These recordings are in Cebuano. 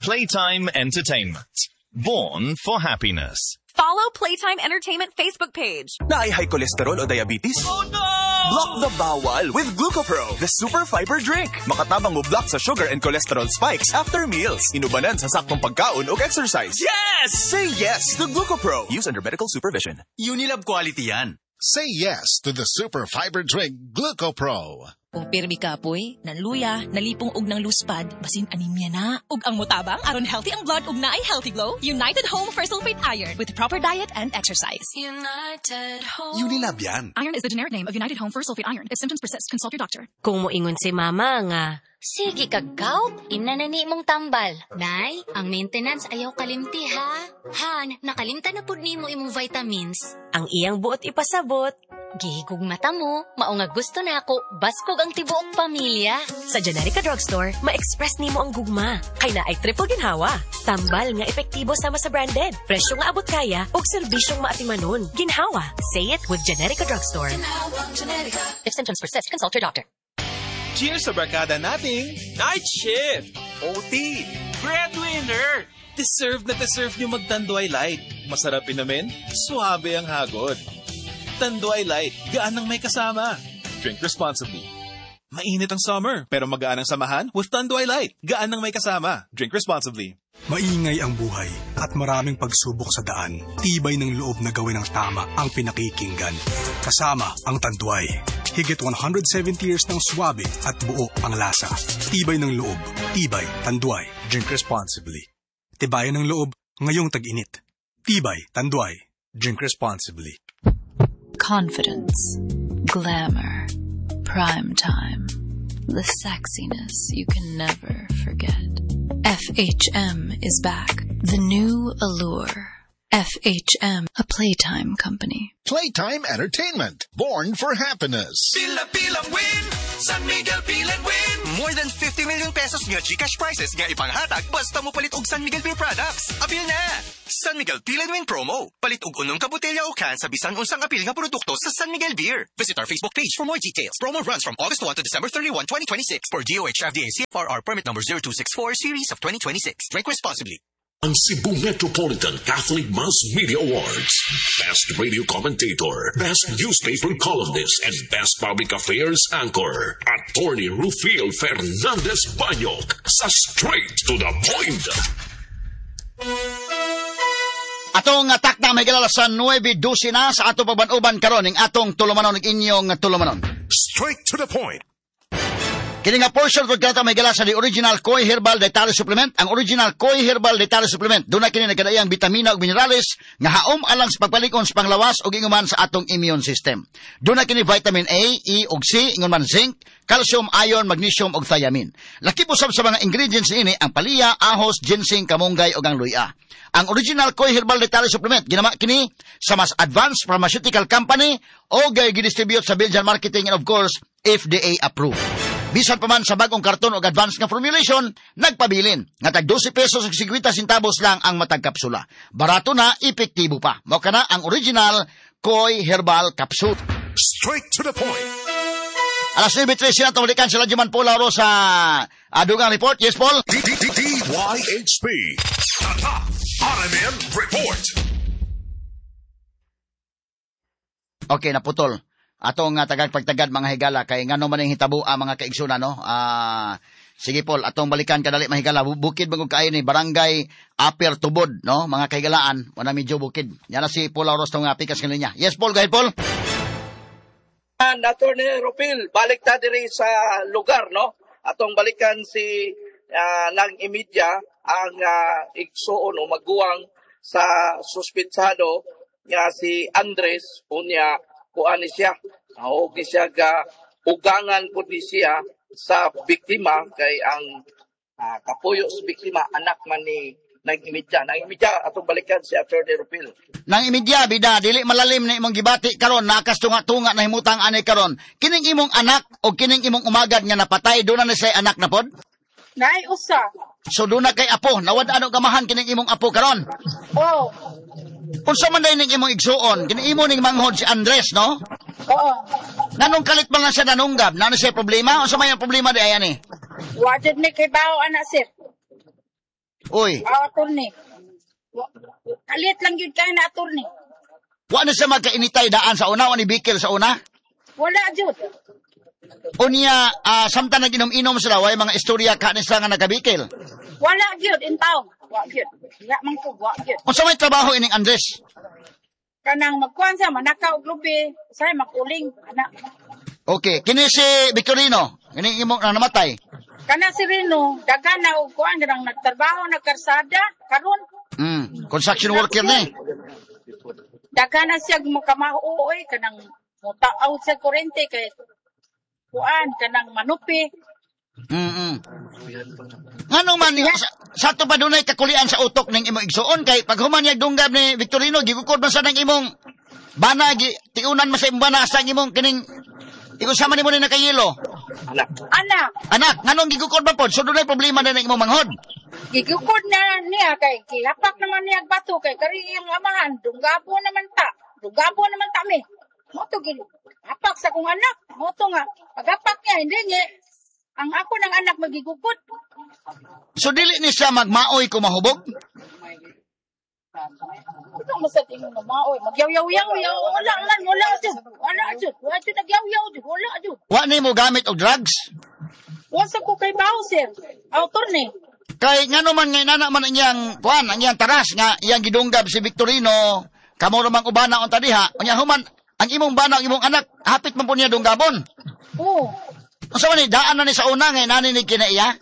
Playtime Entertainment. Born for happiness. Follow Playtime Entertainment Facebook page. Naay high cholesterol o diabetes? Oh no! Block the bawal with GlucoPro, the super fiber drink. Makatabang mo block sa sugar and cholesterol spikes after meals. Inubanan sa saktong pagkaon o exercise. Yes! Say yes to GlucoPro. Use under medical supervision. Unilab quality yan. Say yes to the super fiber drink GlucoPro. Kung pirmi kapoy, nanluya, nalipong og nang luspad, basin anemia na. Ug ang motabang aron healthy ang blood ug naay healthy glow, United Home Ferrous Sulfate Iron with proper diet and exercise. United Home. Unilab yan. Iron is the generic name of United Home Ferrous Sulfate Iron. If symptoms persist, consult your doctor. Kung moingon si mama nga, "Sige kag gout, imna na ni imong tambal." "Nay, ang maintenance ayaw kalimti ha. Han, nakalimtan na pud nimo imong vitamins." Ang iyang buot ipasabot, "Gihigugmata mo, mao nga gusto nako baskog ang tibuok pamilya." Sa Generika Drugstore, ma-express nimo ang gugma. Kay naay triple ginhawa. Tambal nga epektibo sama sa branded. Presyo nga abot kaya ug serbisyong maatimanon. Ginhawa. Say it with Generika Drugstore. If symptoms persist, consult your doctor. Cheers sa barkada nating Night shift! OT! Breadwinner! Deserve na deserve nyo mag-Tanduay Light. Masarap inumin, suabe ang hagod. Tanduay Light, gaan ng may kasama. Drink responsibly. Mainit ang summer, pero magaan ang samahan with Tanduay Light. Gaan ng may kasama. Drink responsibly. Maingay ang buhay at maraming pagsubok sa daan. Tibay ng loob na gawin ang tama ang pinakikinggan. Kasama ang Tanduay. Higit 170 years ng swabe at buo ang lasa. Tibay ng loob. Tibay Tanduay. Drink responsibly. Tibayan ng loob ngayong tag-init. Tibay Tanduay. Drink responsibly. Confidence, glamour, prime time, the sexiness you can never forget. FHM is back. The new allure. FHM, a Playtime company. Playtime Entertainment. Born for happiness. Pila-pilang win! San Miguel Peel and Win! More than 50 million pesos nga GCash prizes nga ipanghatag basta mo palit og San Miguel Beer products. Apil na! San Miguel Peel and Win promo. Palit og unom ka botelya o can sa bisan unsang apil nga produkto sa San Miguel Beer. Visit our Facebook page for more details. Promo runs from August 1 to December 31, 2026 for DOH FDA CFRR permit number 0264 series of 2026. Drink responsibly. Ang Cebu Metropolitan Catholic Mass Media Awards. Best Radio Commentator, Best Newspaper Columnist, and Best Public Affairs Anchor. Attorney Rufil Fernandez Banyok sa Straight to the Point. Atong takna may galala sa 9:12 na sa ato pagban-uban karon ning atong tulumanon ug inyong tulumanon. Straight to the Point. Kini nga portion kung kanata may gala sa the original Koi Herbal Dietary Supplement. Ang original Koi Herbal Dietary Supplement, doon na kini nagkadaiyang bitamina ug minerales nga haom alang sa pagpalikon sa panglawas ug inguman sa atong immune system. Doon na kini vitamin A, E ug C, ingon man zinc, calcium, iron, magnesium ug thiamine. Laki po sab sa mga ingredients niini ang paliya, ahos, ginseng, kamunggay ug ang luya. Ang original Koi Herbal Dietary Supplement ginama kini sa mas advanced pharmaceutical company o gidistribute sa Belgian Marketing and of course FDA approved. Bisan pa man sa bagong karton og advanced nga formulation, nagpabilin nga tag 12 pesos ug 50 centavos lang ang matag kapsula. Barato na, epektibo pa. Mao kana ang original Koi Herbal Capsule. Straight to the point. Alas 9:13 na tumalikan sila Juman Paul Lauro sa Adugang Report. Yes, Paul? DYHP. Tatak RMN Report. Okay, naputol. Atong tagag pagtagad mga higala kay ngano man ning hitabo ang mga kaigsoon, no? Sige Paul, atong balikan kadali mga higala. Bukid man kaayo ni Barangay Upper Tubod, no? Mga kahigalaan, wala medyo bukid. Yan na si Paul Auros tong pikas kaninya. Yes Paul, go ahead Paul. Attorney Rupil, balik ta diri sa lugar, no? Atong balikan si nang imidya ang igsuon o maguwang sa suspitsado nga si Andres unya kuan ni siya. Og ni siya ga ugangan pud ni siya sa biktima kay ang kapuyo sa biktima anak man ni nang imidya. Nang imidya atong balikan si Attorney Rupil. Nang imidya bida dili malalim na imong gibati karon nakas tunga-tunga na himutang ani karon. Kining imong anak o kining imong umagad nga napatay doon na say anak na pod? Naay usa. So doon na kay apo, nawad ano gamahan kining imong apo karon? Oh. Unsa man day ning imong igsuon? Kini imo ning manghod si Andres, no? Oo. Nanong kalit man lang siya nanunggab? Nano siya problema? Unsa may ang problema di ayan eh? Wa jud ni kay bao ana sir. Uy. Attorney. Kalit lang yun kayo na attorney. Wa na siya magkainitay daan sa una, wa ni bikil sa una? Wala, jud. Unya, samtang nag-inom-inom sila, way mga istorya ka ni sila nga nagkabikil? Wala, jud, in town. Wa, jud. Wala man ko, wa, jud. Unsa may trabaho ining Andres? Kanang magkuhan siya, manakaw og lubi, say makuling, anak. Okay, kini si Victorino, kini imong namatay. Kana si Rino, daghan na og kuan kanang nagtrabaho nagkarsada karon. Construction worker ni. Daghan na siya makamao oy kanang motaaw sa kuryente kay kuan kanang manupi. Nganong man sa ato pa dunay kakulian sa utok ning imong igsuon kay pag human niya dunggab ni Victorino gigukod man sa nang imong bana gi tiunan man sa imong bana sa imong kining ikusama nimo ni nakayelo. Anak. Anak, nganong gigukod man pod? So dunay problema na ning imong manghod. Gigukod na niya kay gihapak naman niya bato kay kari iyang amahan dunggabo naman ta. Dunggabo naman ta mi. Mo to gihapak sa kong anak. Mo to nga paghapak niya hindi niya ang ako ng anak magigukod. So dili ni siya magmaoy kung mahubog? Ito masad ingon nga maoy. Magyaw-yaw-yaw, wala man, wala jud. Wala jud. Wala jud nagyaw-yaw jud, wala jud. Wa nimo gamit og drugs? Wa sa ko kay bawo sir. Autor ni. Kay ngano man ngay nana man iyang kuan, ang iyang taras nga iyang gidunggab si Victorino, kamo ra mang ubana unta diha. Unya human ang imong bana ang imong anak, hapit man po niya dunggabon. Oo. Unsa man ni daan na ni sa una ngay nani ni kinaiya?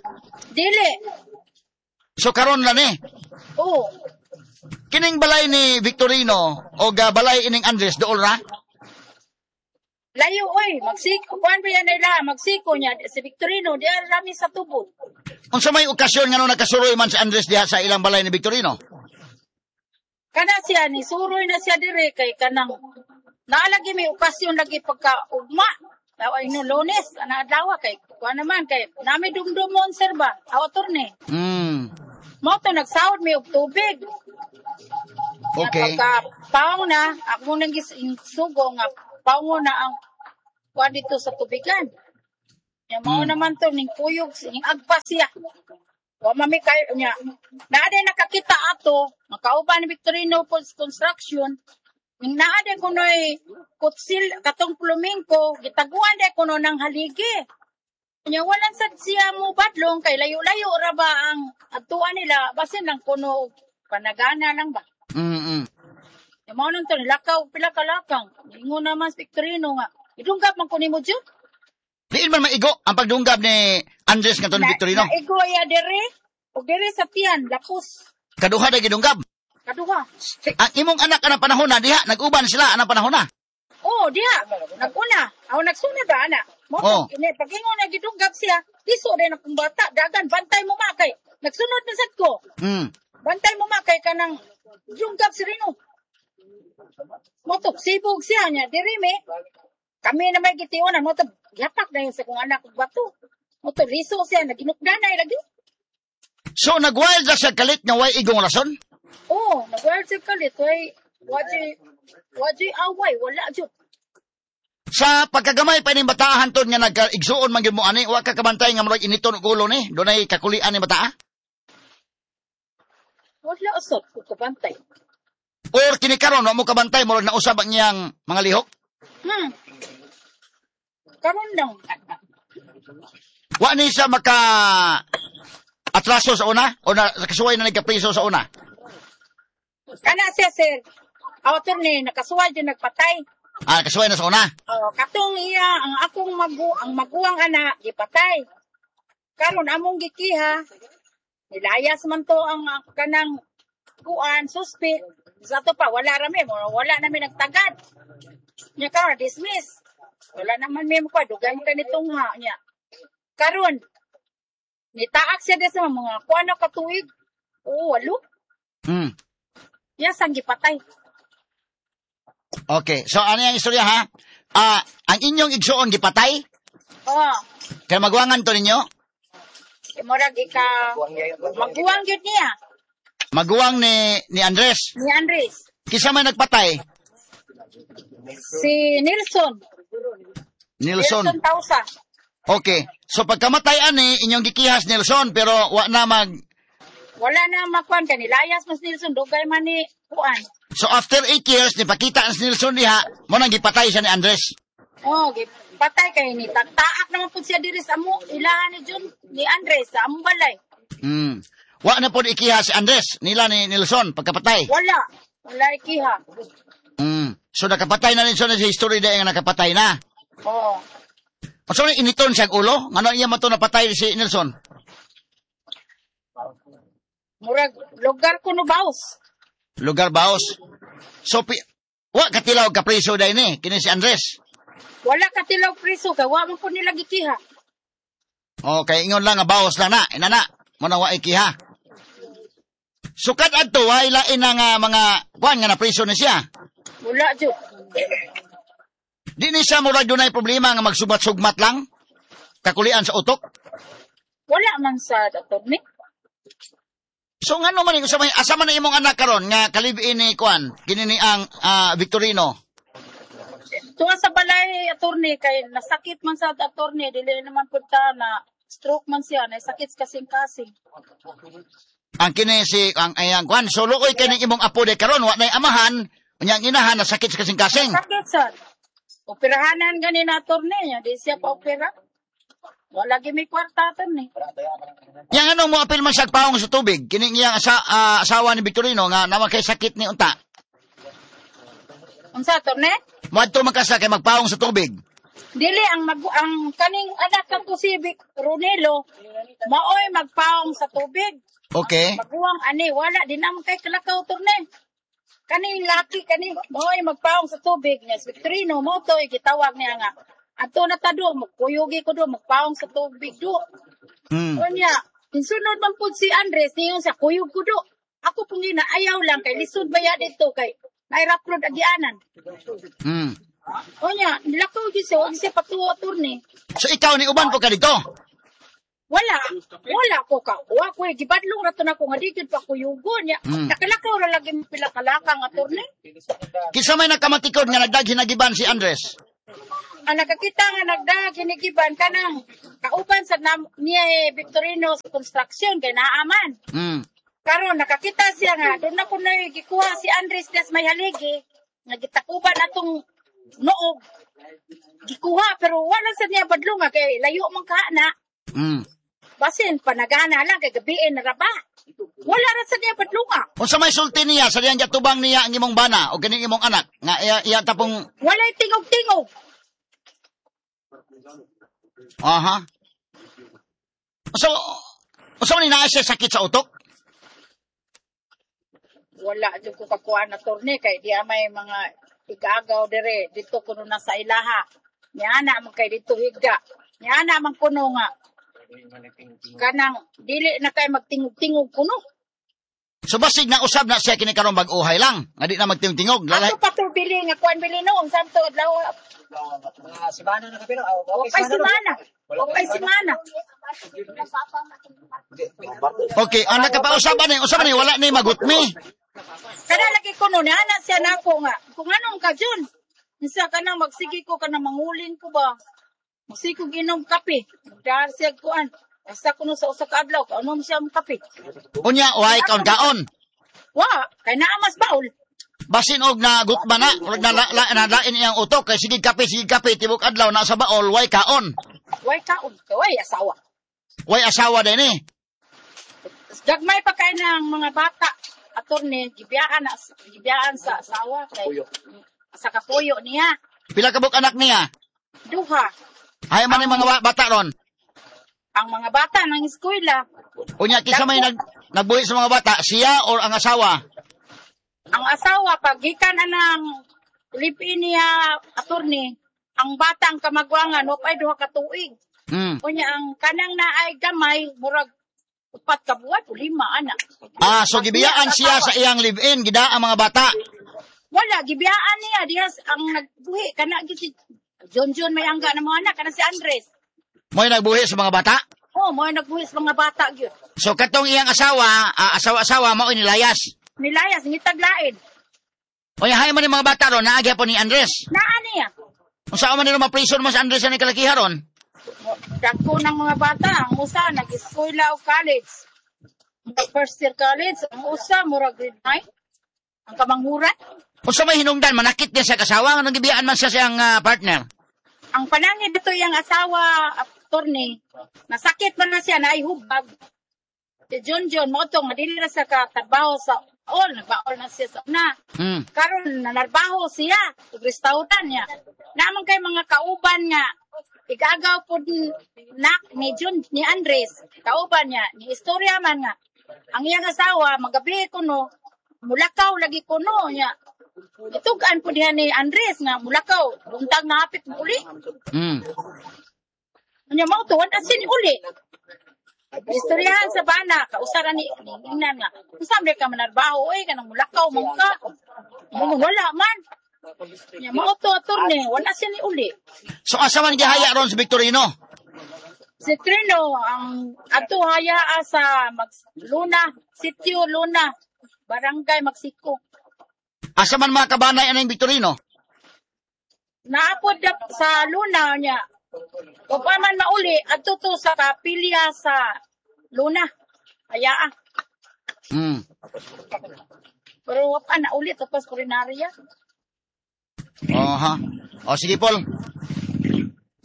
Dili. So karon na ni. Oo. Kining balay ni Victorino o balay ining Andres dool ra? Layo oy, magsiko kuan ba yan nila, magsiko niya si Victorino di rami sa tubod. Unsa may okasyon ngano nakasuroy man si Andres diha sa ilang balay ni Victorino? Kana siya ni suroy na siya dire kay kanang naalagi may okasyon lagi pagka ugma. Ay no Lunes ana adlaw kay kuan naman kay nami dumdumon sir ba autor ni. Mo to nagsahod mi og tubig. Okay. Pagka paong na, ako nang sugo nga paong na ang kuan dito sa tubigan. Ya mao naman to ning kuyog ning agpas siya. Wa mami kayo niya. Naa day nakakita ato, makauban ni Victorino Construction. Ning naa day kunoy kutsil katong plumingko, gitaguan day kuno ng haligi. Nya walang sad siya mo badlong kay layo-layo ra ba ang adtuan nila basin lang kuno panagana lang ba. Ya mao nang to nilakaw pila ka lakang. Ingon naman si Victorino nga idunggab man ko nimo jud. Diin man maigo ang pagdunggab ni Andres ngadto ni Victorino. Naigo ya dere og dere sa tiyan lapos. Kaduha day gidunggab. Kaduha. Ang imong anak anang panahon na diha nag-uban sila anang panahon na. Oh, diha naguna. Aw nagsunod ba ana? Mo to kini pag-ingon na gidunggab siya, liso din akong bata, dagan bantay mo ma kay nagsunod na sad ko. Bantay mo ma kay kanang dunggab si Rino. Mo to sibog siya niya diri me. Kami na may gitiunan mo to gihapak na yun sa kong anak og bato. Mo to liso siya naginukdanay lagi. So nagwild ra siya kalit nga way igong rason? Oh, nagwild siya kalit way wajay away wala jud. Sa pagkagamay pa ning bataahan ton nga nagkaigsuon man gyud mo ani, wa ka kabantay nga murag initon og ulo ni, dunay kakulian ni bataa? Wala usab ko kabantay. Or kini karon wa mo kabantay murag nausab ang iyang mga lihok? Karon lang. Wa ni siya maka atraso sa una o na kasuway na nagkapriso sa una? Kana siya sir. Author ni nakasuway jud nagpatay. Ah, kasuway na sa una. Oh, katong iya ang akong ang maguwang anak gipatay. Karon among gikiha nilayas man to ang kanang kuan suspect. Sa ato pa wala ra mi, wala na mi nagtagad. Nya karon dismiss. Wala naman mi mo dugay ka nitong ha nya. Karon nitaak siya sa mga kuan na katuig. Oo, walo. Ya sang gipatay. Okay. So ano yung istorya ha? Ang inyong igsuon gipatay? Oo. Kaya maguwangan to ninyo? Murag ika maguwang gyud niya. Maguwang ni Andres. Ni Andres. Kinsa may nagpatay? Si Nelson. Nelson. Nelson Tausa. Okay. So pagkamatay ani inyong gikihas Nelson pero wa na Wala na makuan kay nilayas mas Nilsson dugay man ni kuan. So after 8 years nipakita ang Nilsson diha, mo nang gipatay siya ni Andres. Oh, gipatay kay ni taak naman pud siya diri sa amo ilahan ni John ni Andres sa among balay. Wa na pud ikiha si Andres nila ni Nilsson pagkapatay. Wala. Wala ikiha. So nakapatay na Nilsson sa history dai nga nakapatay na. Oo. So initon siya ulo, ngano iya man to napatay si Nilsson? Murag lugar kuno baos. Lugar baos. So wa katilaw ka preso dai ni kini si Andres. Wala katilaw preso kay wa man pud nila gikiha. Okay, ingon lang nga baos lang na, inana, mo na wa ikiha. Sukat adto way lain na nga mga kuan nga na preso ni siya. Wala jud. Di ni siya murag dunay problema nga magsubat-sugmat lang kakulian sa utok. Wala man sa attorney. So ngano man sa may asa man na imong anak karon nga kalib-in ni kuan kini ni ang Victorino. Tuwa sa balay attorney kay nasakit man sa attorney dili naman pud ta na stroke man siya na sakit kasing-kasing. Ang kini si ang ayang kuan so luoy kay ning imong apo de karon wa nay amahan unya ang inahan nasakit sa kasing-kasing. Sakit sad. Operahanan gani na attorney niya di siya pa opera. Wala gyud may kwarta attorney. Yang ano mo apil man siya paong sa tubig kini iyang asawa ni Victorino nga naman kay sakit ni unta. Unsa attorney? Moadto man ka sa kay magpaong sa tubig. Dili ang kaning anak kang si Ronelo maoy magpaong sa tubig. Okay. Maguwang ani wala din naman kay kalakaw attorney. Kaning laki kani maoy magpaong sa tubig niya si Victorino mo toy gitawag niya nga ato na ta do magkuyugi ko do magpaong sa tubig do. Unya insunod man pud si Andres niyon sa kuyog ko do. Ako pung gina ayaw lang kay lisod baya dito kay nairaprod agianan. Unya nilakaw gyud siya wag siya patuo attorney. So ikaw ni uban po ka dito? Wala. Wala ko ka. Wa ko gibadlong ra to nako nga di gyud pa kuyugon niya. Nakalakaw ra lagi pila kalakang attorney. Kinsa may nakamatikod nga nagdag hinagiban si Andres? Ang nakakita nga nagdag hinigiban kanang kauban sa niya Victorino sa construction kay naaman. Karon nakakita siya nga doon na ko na gikuha si Andres des may haligi nga gitakuban atong noog. Gikuha pero wala sa niya badlong nga kay layo man ka na. Basin panagana lang kay gabiin na ra ba. Wala ra sa niya badlonga. Unsa may sulti niya sa diyang gatubang niya ang imong bana o kining imong anak nga iya tapong walay tingog-tingog. Aha. So, unsa man naa siya sakit sa utok? Wala jud ko kakuan na torne kay di may mga igagaw dire dito kuno na sa ilaha. Niana man kay dito higa. Niana man kuno nga kanang dili na kay magtingog-tingog kuno. So basig na usab na siya kini karon bag-uhay lang, nga di na magtingog-tingog. Ato pa to bili nga kuan bili noong samto adlaw. Simana na kapino. Okay simana. Okay simana. Okay, ang nakapausab ani, usab ani wala ni magutmi. Kada lagi kuno ni ana siya nako nga. Kung anong ka Jun? Unsa ka nang magsige ko kana mangulin ko ba? Magsige ko ginom kape. Dahil siya kuan. Basta kuno sa usa ka adlaw, kaunom siya ang kape. Unya, way kaon-kaon. Wa, kay naa mas baol. Basin og na gutma na, murag na lain iyang utok kay sige kape, tibok adlaw na sa baol, way kaon. Way kaon, kay way asawa. Way asawa din eh. Gagmay pa kay ng mga bata, attorney, gibiyaan sa asawa kay sa kapuyo niya. Pila ka buok anak niya? Duha. Hay man ang mga bata ron. Ang mga bata ng eskwela. Unya kinsa may nagbuhi sa mga bata, siya or ang asawa? Ang asawa pag gikan anang live-in niya attorney, ang bata ang kamagwangan ay duha ka tuig. Unya ang kanang naay gamay murag 4 ka buwan o 5 ana. So gibiyaan siya sa iyang live-in gida ang mga bata. Wala gibiyaan niya diha ang nagbuhi kana gyud si John John may angga ng mga anak kana si Andres. Mo'y nagbuhi sa mga bata? Oo, mo'y nagbuhi sa mga bata gyud. So katong iyang asawa, asawa-asawa mao nilayas. Nilayas ngitag lain. Oy, hay man ni mga bata ron, naagya po ni Andres. Naa niya. Unsa man nila ma-prison mo si Andres sa kalakiha ron? Dagko ng mga bata, ang usa nag-eskwela o college. First year college, ang usa murag grade 9. Ang kamanghuran. Unsa may hinungdan manakit niya sa kasawa nganong gibiyaan man siya siyang partner? Ang panangit dito iyang asawa, attorney, nasakit man na siya naay hubag. Si Junjun mo to nga dili na siya katrabaho sa all, nagbaol na siya sa una. Karon nanarbaho siya ug restaurant niya. Naman kay mga kauban nga igagaw pod nak ni Jun ni Andres, kauban niya, ni istorya man nga ang iyang asawa magabi kuno mulakaw lagi kuno niya. Itugan po diha ni Andres nga mulakaw, buntag na hapit mo uli. Nya mao to wala sin uli. Istoryahan sa bana, kausaran ni ingnan nga. Unsa man ka manarbaho oy kanang mulakaw man ka. Wala man. Nya mao to attorney, wala siya ni uli. So asa man gihaya ron si Victorino? Si Trino ang adto haya sa Luna, Sitio Luna, Barangay Magsiko. Asa man mga kabanay aning Victorino? Naapod sa Luna niya. O pa man mauli, adto to sa kapilya sa Luna. Ayaa. Pero wa pa na uli tapos kulinarya. Oha. O sige Paul.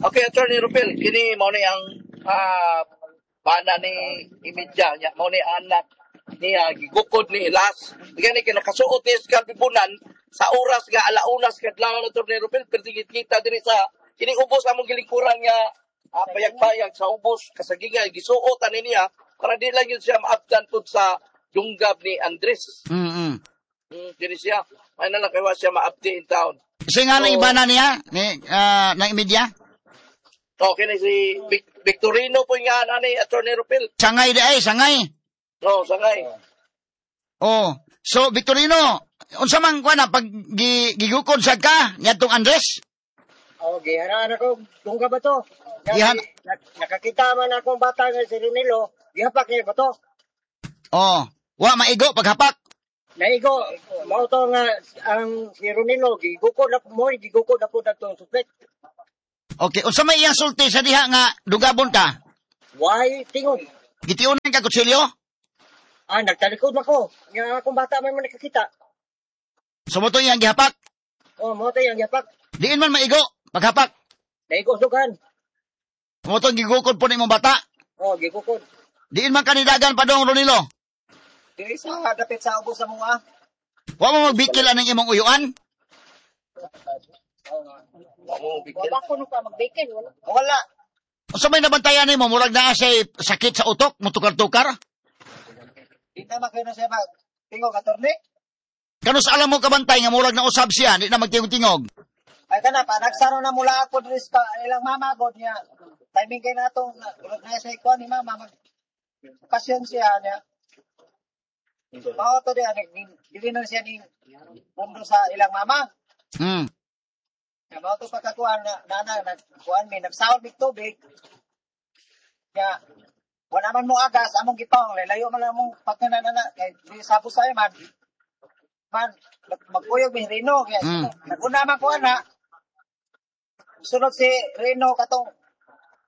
Okay, Attorney Rupel, kini mao ni ang bana ni Imidya niya, mao ni anak niya gigukod ni Ilas. Gani kay nakasuot ni sa Bibunan sa oras nga alaunas kadlaw na Attorney Rupel, perdigit kita diri sa kini ubos among gilingkuran nga payag-payag sa ubos kasagingan gisuot ani niya para di lang yun siya maabdan pud sa dunggab ni Andres. Diri siya, may na lang kay wa siya maabdi in town. So nga lang ibana niya ni ng Imidya? Okay ni si Victorino po nga ani Attorney Rupel. Sangay di ay, sangay. Oh, sangay. Oh, so Victorino, unsa man kuan pag gigukod sad ka niadtong Andres? Oh, gihanaan ako dungga ba to? Gihan nakakita man akong bata nga si Ronilo, gihapak niya ba to? Oh, wa maigo paghapak. Naigo, mao to nga ang si Ronilo gigukod na mo, gigukod na po datong suspect. Okay, unsa may iyang sulti sa diha nga dugabon ka? Why tingog? Gitiunan ka kutsilyo? Ah, nagtalikod ako. Nga akong bata man man nakakita. So mo to iyang gihapak? Oh, mo to iyang gihapak. Diin man maigo paghapak. Naigo sugan. Mo to gigukod po nimong bata? Oh, gigukod. Diin man kanidagan pa dong Ronilo? Diri sa dapit sa ubos sa mga. Wa mo magbikil aning imong uyuan? Wala ko no ka magbikil, wala. Wala. Unsa may nabantayan nimo murag naa say sakit sa utok, mutukar-tukar? Di na makino siya mag tingog attorney. Kanus alam mo kabantay nga murag na usab siya, di na magtingog-tingog. Ay kana pa nagsaro na mula ako diri sa ilang mama god niya. Timing kay natong na sa ikuan ni mama mag okasyon siya niya. Mao to diha dili na siya ning pundo sa ilang mama. Ya mao to pagkakuan na nana nagkuan mi nagsahod mig tubig. Ya wala man mo agas among gipang layo man among pagkanan na kay di sabos sa man. Man magkuyog mi Rino kay naguna man ko ana. Sunod si Rino katong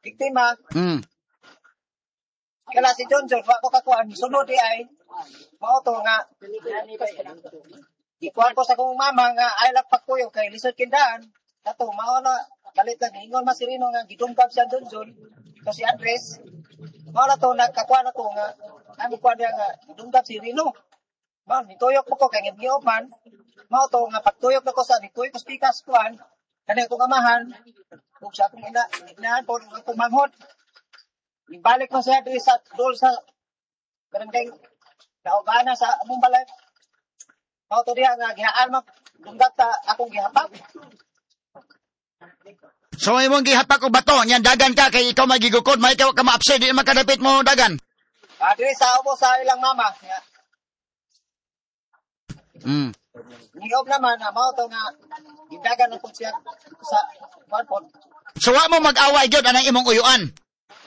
biktima. Kala si John John wa ko kakuan sunod di ay mao to nga gikuan ko sa akong mama nga ay lang pagkuyog kay lisod kindaan kato mao na kalit na giingon man si Rino nga gidungkab siya John John to si Andres mao na to nagkakuan ako nga ang kuan niya nga gidungkab si Rino mao nituyok po ko kay ngibngiob man mao to nga pagtuyok nako sa nituyok ko spikas kuan kani akong amahan ug sa akong ina inahan po akong manghod. Ibalik mo siya diri sa dol sa barangay Naugana sa among balay. Mao to diha nga gihaan man dunggat ta akong gihapak. So imong gihapak og bato nya dagan ka kay ikaw magigukod, may ikaw ka maapse di makadapit mo dagan. Ah, diri sa ubo sa ilang mama. Niob naman na mao to nga gidagan na pud siya sa kuan. So wa mo mag-away gyud anang imong uyuan.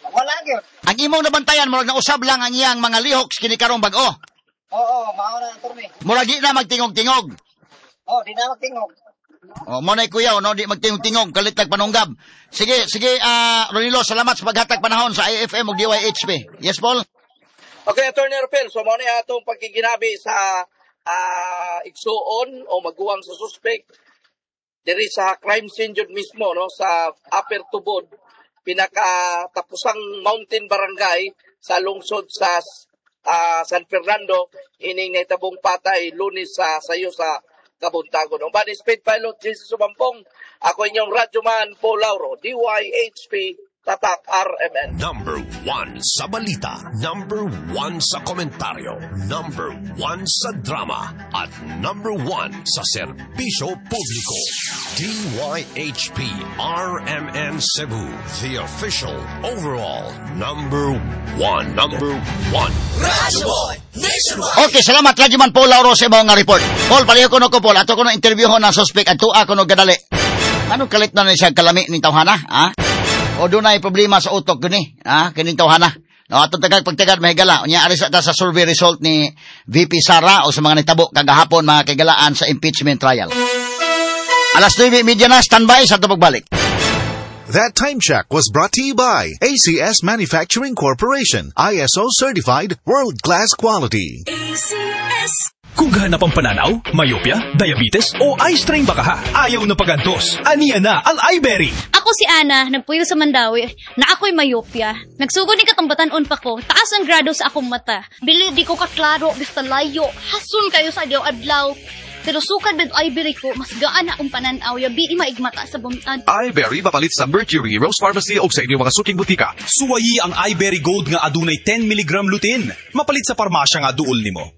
Wala gyud. Ang imong nabantayan murag nausab lang ang iyang mga lihok kini karong bag-o. Oo, mao na attorney. Murag di na magtingog-tingog. Oh, di na magtingog. Oh, mo na kuya, no, di magtingog-tingog kalit tag panunggab. Sige, sige, Ronilo, salamat sa paghatag panahon sa IFM ug DYHP. Yes, Paul. Okay, Attorney Arpel, so mao ni atong pagkiginabi sa igsuon o maguwang sa suspect diri sa crime scene jud mismo, no, sa Upper Tubod, pinakatapusang mountain barangay sa lungsod sa San Fernando, ining nahitabong patay Lunes sa sayo sa kabuntagon. Ang Bani Speed Pilot Jesus Sumampong, ako inyong Radyoman Paul Lauro, DYHP Tatak RMN. Number 1 sa balita, number 1 sa komentaryo, number 1 sa drama, at number 1 sa serbisyo publiko. DYHP RMN Cebu, the official overall number 1. Number 1. Radyo Boy Nationwide. Okay, salamat Radyoman Paul Lauro sa imong nga report. Paul, pareho ko no ko, Paul. Ato ko no interview ng suspect at tuwa ko no gadali. Anong kalit na ni siya kalami ning tawhana, ha? O dunay problema sa utok guni, ha? Kining tawhana. No, atong tagag pagtagad mahigala. Unya ari sa ta sa survey result ni VP Sara o sa mga nitabo kagahapon mga kaigalaan sa impeachment trial. Alas 9:30 na, standby sa atong pagbalik. That time check was brought to you by ACS Manufacturing Corporation, ISO certified, world-class quality. ACS. Kung gahanap ang pananaw, myopia, diabetes o eye strain baka ha, ayaw na pagantos. Aniya na ang iBerry. Ako si Ana, nagpuyo sa Mandawi, na ako'y myopia. Nagsugod ni katong batan-on pa ko, taas ang grado sa akong mata. Bili di ko kaklaro, basta layo, hasun kayo sa adlaw-adlaw. Pero sukad med iBerry ko, mas gaan akong pananaw, yabi maigmata sa bumtad. iBerry mapalit sa Mercury, Rose Pharmacy o sa inyong mga suking butika. Suwayi ang iBerry Gold nga adunay 10 mg lutein. Mapalit sa parmasya nga duol nimo.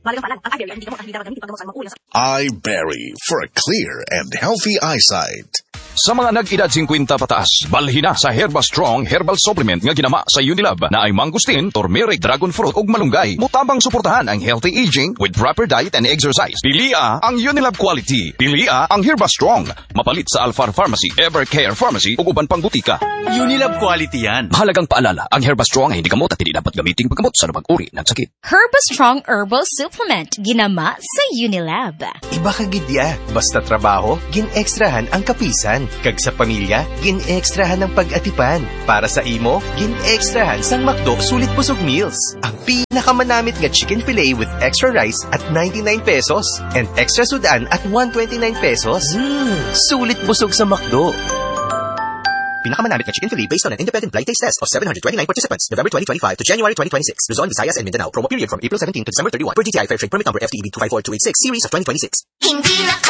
iBerry for a clear and healthy eyesight. Sa mga nag-edad 50 pataas, balhin na sa Herba Strong Herbal Supplement nga ginama sa Unilab na ay mangustin, turmeric, dragon fruit ug malunggay. Mutabang suportahan ang healthy aging with proper diet and exercise. Pilia ang Unilab quality. Pilia ang Herba Strong. Mapalit sa Alfar Pharmacy, Evercare Pharmacy ug uban pang butika. Unilab quality yan. Mahalagang paalala, ang Herba Strong ay hindi gamot at hindi dapat gamiting paggamot sa anumang uri ng sakit. Herba Strong Herbal Supplement, ginama sa Unilab. Iba ka gidya. Basta trabaho, gin-extrahan ang kapisan. Kag sa pamilya, gin-extrahan ang pag-atipan. Para sa imo, gin-extrahan sang McDo Sulit Busog Meals. Ang pinakamanamit nga chicken fillet with extra rice at 99 pesos and extra sudan at 129 pesos. Sulit busog sa McDo. Pinakamanamit na chicken fillet based on an independent blind taste test of 729 participants, November 2025 to January 2026. Luzon, Visayas, and Mindanao. Promo period from April 17 to December 31. Per DTI Fair Trade Permit Number FTEB 254286, Series of 2026. Hindi na